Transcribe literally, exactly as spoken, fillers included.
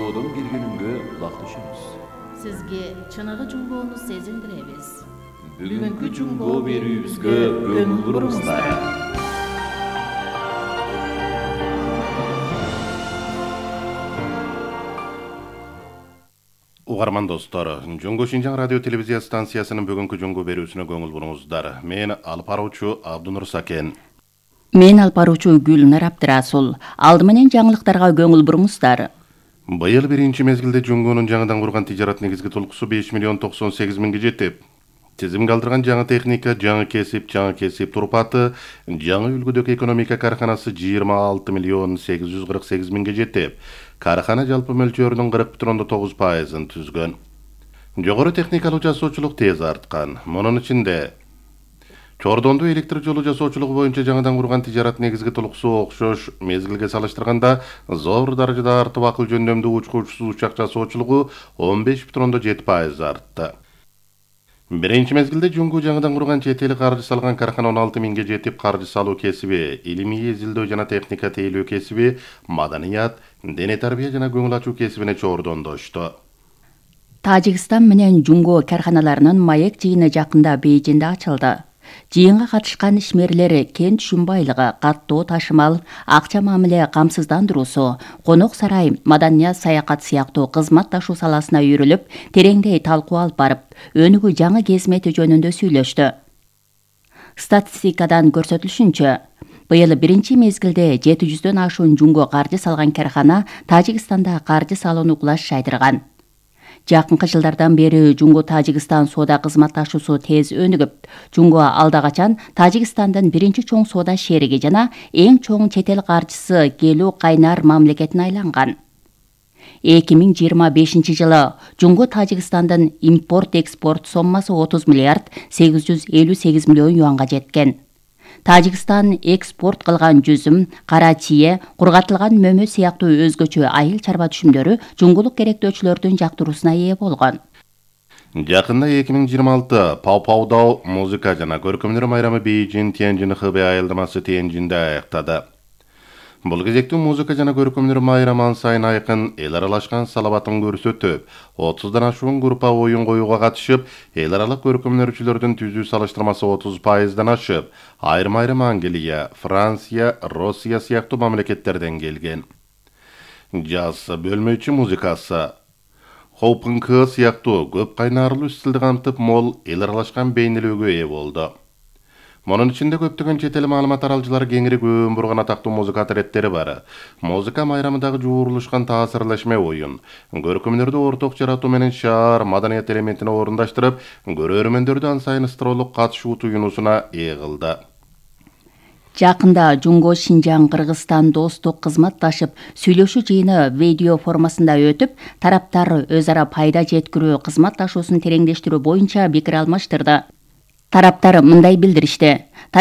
Жуңгоодон бир күнүнгө улакташабыз. Сизге чыныгы жуңгоону сезиндиребиз. Бүгүнкү жуңгоо берүүбүзгө көңүл буруңуздар. Угарман достор, Жуңго Шинжаң радио телевизия станциясынын бүгүнкү жуңгоо берүүсүнө көңүл буруңуздар. Мен алып баруучу Абдунур Сакен. Мен алып баруучу Гүлнар Абдырасул. Алды менен жаңылыктарга көңүл буруңуздар. Быйыл биринчи мезгилде жуңгонун жаңыдан курган тижарат негизги толкусу беш миллион токсон сегиз миңге жетип, тизимге алдырган жаңы техника, жаңы кесип, жаңы кесип турпаты, жаңы үлгүдөгү экономика карханасы жыйырма алты миллион сегиз жүз кырк сегиз миңге жетип, кархана жалпы мөлчөрүнүн кырк бүтүн ондон тогуз пайызын түзгөн. Жогору техникалык жасоочулук тез арткан. Мунун ичинде Чордонду электр жолу жасоочулугу боюнча жаңыдан курган тижарат негизги толкусу окшош мезгилге салыштырганда зор даражада артып, акыл жөндөмдүү учку учсуз учак жасоочулугу он беш бүтүн ондон жети пайыз артты. Биринчи мезгилде Жуңгу жаңыдан курган чет эл каржы салган кархана он алты миңге жетип, каржы салуу кесиби, илимий изилдөө жана техника тейлөө кесиби, маданият, дене тарбия жана көңүл ачуу кесибине чордондошту. Тажикстан менен Жуңго карханаларынын маек жыйыны жакында Бейжиңде ачылды. Жыйынга катышкан ишмерлер кен түшүм байлыгы, каттоо ташымал, акча мамиле камсыздандыруусу, конок сарай, маданият, саякат сыяктуу кызмат ташуу саласына үйрүлүп, тереңдей талкуу алып барып, өнүгүү жаңы кезмети жөнүндө сүйлөштү. Статистикадан көрсөтүлүшүнчө, быйыл биринчи мезгилде жети жүздөн ашуун Жуңго каржы салган кархана Тажикстанда каржы салууну кулаш жайдырган. Жакынкы жылдардан бери Жуңго Тажикстан соода кызмат ташуусу тез өнүгүп, Жуңго алда качан Тажикстандын биринчи чоң соода шериги жана эң чоң чет эл каржысы келүү кайнар мамлекетине айланган. эки миң жыйырма бешинчи жылы Жуңго Тажикстандын импорт-экспорт соммасы отуз миллиард сегиз жүз элүү сегиз миллион юанга жеткен. Тажикстан экспорт кылган жүзүм, кара чие, кургатылган мөмө сыяктуу өзгөчө айыл чарба түшүмдөрү жуңгулук керектөөчүлөрдүн жактыруусуна ээ болгон. Жакында эки миң жыйырма алты Пау-Паудау музыка жана көркөмдөр майрамы Бейжиң Тяньжин Хэбэй айылдамасы Тяньжинде аяктады. Бул кезекте музыка жана көркөмдөр майрамы ан сайын айкын, эл аралашкан салабатын көрсөтүп, отуздан ашуун группа оюн коюуга катышып, эл аралык көркөмдөрчүлөрдүн түзүү салыштырмасы отуз пайыздан ашып, айрым-айрым Англия, Франция, Россия сыяктуу мамлекеттерден келген. Жаз бөлмөчү музыкасы, хоп-панк сыяктуу көп кайнарлуу стилди камтып, мол эл аралашкан бейнелөөгө ээ болду. Мунун ичинде көптөгөн чет эл маалымат аралчылары кеңири көөн бурган атактуу музыка атреттери бар. Музыка майрамындагы жуурулушкан таасирлешме оюн, көркөмдөрдү орток жаратуу менен шаар маданият элементине орундаштырып, көрөрмөндөрдү ан сайын ыстыроолук катышуу туюнуусуна ээ кылды. Жакында Жуңго Шинжаң Кыргызстан достук кызматташып сүйлөшүү жыйыны видео формасында өтүп, тараптар өз ара пайда жеткирүү кызматташуусун тереңдештирүү боюнча пикир алмаштырды. Тараптар мындай билдиришти.